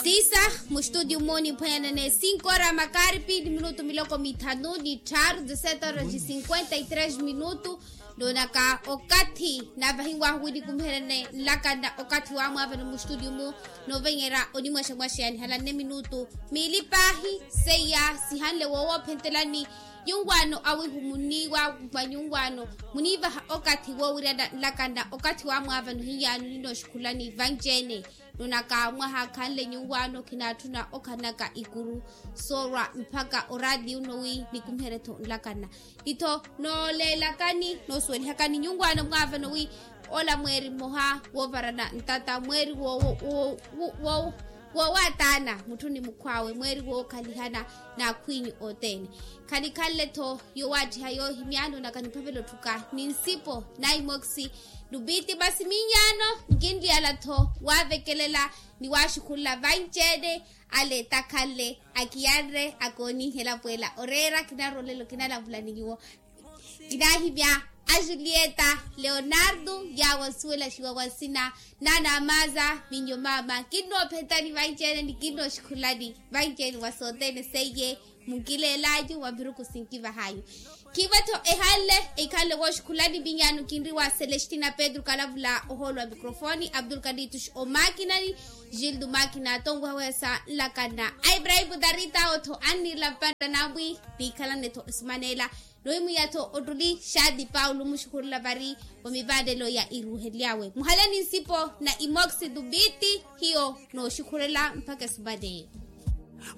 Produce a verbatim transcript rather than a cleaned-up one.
Isa, mustudio moni phwanyanane cinco ora makaripi ni minutu miloko mithanu ni tharu dezesete ora ni cinquenta y tres minutu. Nonaka okathi navahiwahu wi nikumiherene nlakana okathi wa mwavano mustudio mu novenyera onimwexamwexeyani halanne minutu. Miili pahi seiya sihanle woowophentelani nyunwaano awihu muniiwa mwa nyunwaano muniivaha okathi woowiryana nlakana okathi wa mwavano hiyano ninooxikhulani vanci-ene. Nonaka mwaha khanle nyunwaano khinatthuna okhanaka ikuru soorwa mpakha oraatiyo nno wi nikumihere-tho nlakana. Itho nooleelakani noosuwelihakani nyunwaano mwaavano wi ola mweeri mmoha woovarana ntata mweeri woowaataana mutthu ni mukhw'awe mweeri wookhalihana n'akhwinyu othene. Khanikhanle-tho yoowaattiha yoohimya nonaka niphavela otthuka ni nsipo na imokisi. Nupiti masi minyaano nkinliyala-tho waavekelela ni waaxukhurula vanci-ene. Ale takhanle akiyanre akooniihela pweela oreera kinarwa olelo kinalavula ni nyuwo. Kinaahimya a julieta leonardo yaawo nsuwelaxiwa wa nsina naana amaza minyo maama kinnoophentani vanci-ene ni kinnooxikhulani vanci-ene wa sothene seiye. Munkileel'anyu wa miruku sinkivah'anyu. Khiivo-tho ehanle eikhanle wooxikhulani vinyaano kinri wa celestina pedro kalavula ohoolo wa microfone abdul kaditush omakinani. Gildo makina tonweha wehesa nlakana a ibrahimu darita awo-tho anniirela mpanta namwi. Niikhalane-tho esumaneela nohimwiya-tho ottuli xaati paulo muxukhurula vari wa mivaanelo ya iruuhely'awe muhaleni nsipo na imokisi tupiti hiyo nooxukhurela mpakha esumaneela.